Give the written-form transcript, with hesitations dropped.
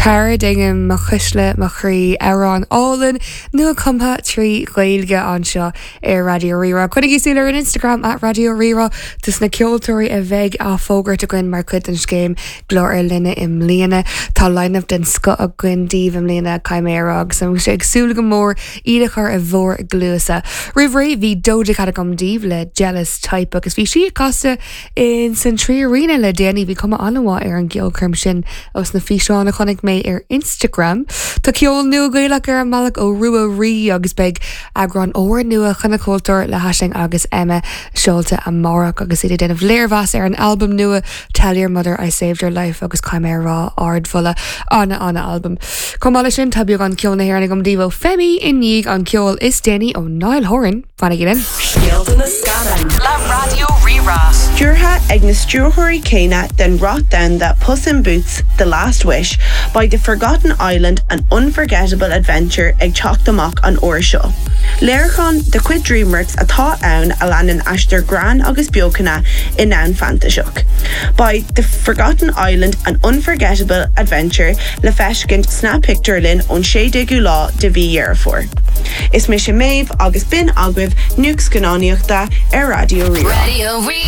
Cara Daingean, Mo Chuisle, Mo Chroí, amhrán álainn nua-chumtha trí Ghaeilge anseo ar Raidió Rí-Rá. Coinnigí súil ar an Instagram at Raidió Rí-Rá dos na ceoltóirí a bheidh á bhfógairt againn mar chuid den scéim Glór ár Linne i mbliana. Tá line-up den scoth againn daoibh i mbliana, caithfidh mé a rá, agus tá ag súil go mór iad a chur i bhur gcluasa. Roimh ré bhí Doja Cat agam daoibh le Jealous Type agus bhí sí ag casadh In san 3Arena le déanaí bhí cuma an-mhaith ar an gceolchoirm sin ós na físeáin a chonaic mé ar Instagram. Tá ceol nua Gaelach ar an mbealach ó Rua Rí agus beidh eagrán úrnua Choinne Cultúir le hAisling agus Emma seolta amárach agus iad ag déanamh léirmheas ar an albam nua Tell Your Mother I Saved Her Life agus caithfidh mé a rá ardmholadh an-an-albam. Chomh maith leis sin tá beagán ceol na hÉireann agam daoibh ó Femi i ndiaidh an ceol is déanaí ó Niall Horan. Fanaigí linn. Scéalta na scannán le Raidió Rí-Rá. Stiúrtha ag na stiúrthóirí céanna den rath domhanda Puss in Boots, The Last Wish, beidh The Forgotten Island, An Unforgettable Adventure ag teacht amach an uair seo. Léiriúchán de chuid DreamWorks atá ann a leanann aistear greann agus beochana i ndomhan fantaiseach. Beidh The Forgotten Island, An Unforgettable Adventure le feiscint sna pictiúrlanna ón 16ú lá de mhí Dheireadh Fómhair. Is mise Méabh agus b'in agaibh nuacht scannánaíochta ar Raidió Rí-Rá.